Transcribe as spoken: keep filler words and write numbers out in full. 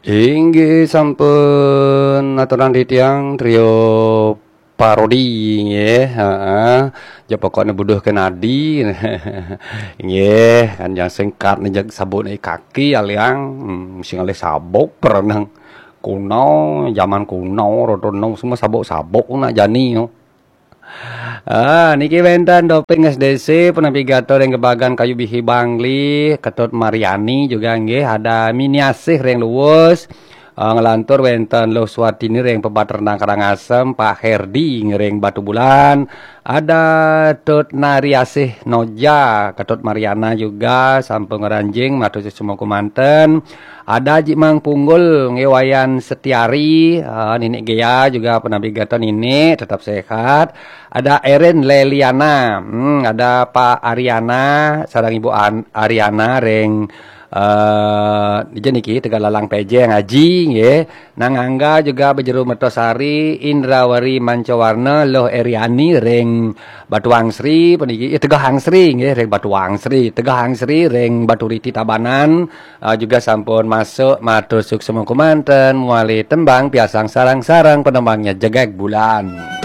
Inggih sampun aturang titiang trio parodi nggih, heeh. Ja pokokne buduh ke nadi. Nggih, kan yang singkat ni jag sabuk ni kaki aliang. Hmm, sing alih sabuk perenang kuno, zaman kuno, rodo no semua sabuk-sabuk nak jani no. Ah, niki wenten Doping S D C, penapi gato ring Gebagan Kayu Bihi Bangli, Ketut Mariani juga nggih, ada Miniasih ring Luwus, ah, ngelantur wenten Luh Swatini ring Pebat Rendang Karangasem, Pak Herdi ring Batu Bulan, ada Tut Nariasih Noja, Ketut Mariana juga, sampun ngranjing, matur suksma kumanten, ada Ji Mang Punggul, nggih Wayan Setiari, ah, Nini Gea juga penapi gato Nini, tetap sehat. Ada Erin Leliana, hmm, ada Pak Ariana, sareng Ibu An Ariana ring eh dija niki Tegal Lalang Pejeng Aji nggih. Nang Angga juga Bejero Mertosari, Indrawari Mancawarna, Loh Eriani ring Batuang Sri, puniki, eh, Tegah Angsri nggih, ring Batuang Sri, Tegah Angsri ring Baturiti Tabanan, eh, juga sampun masuk, matur suksma kumanten, muali tembang piasang sareng-sareng penembangnya Jegeg Bulan.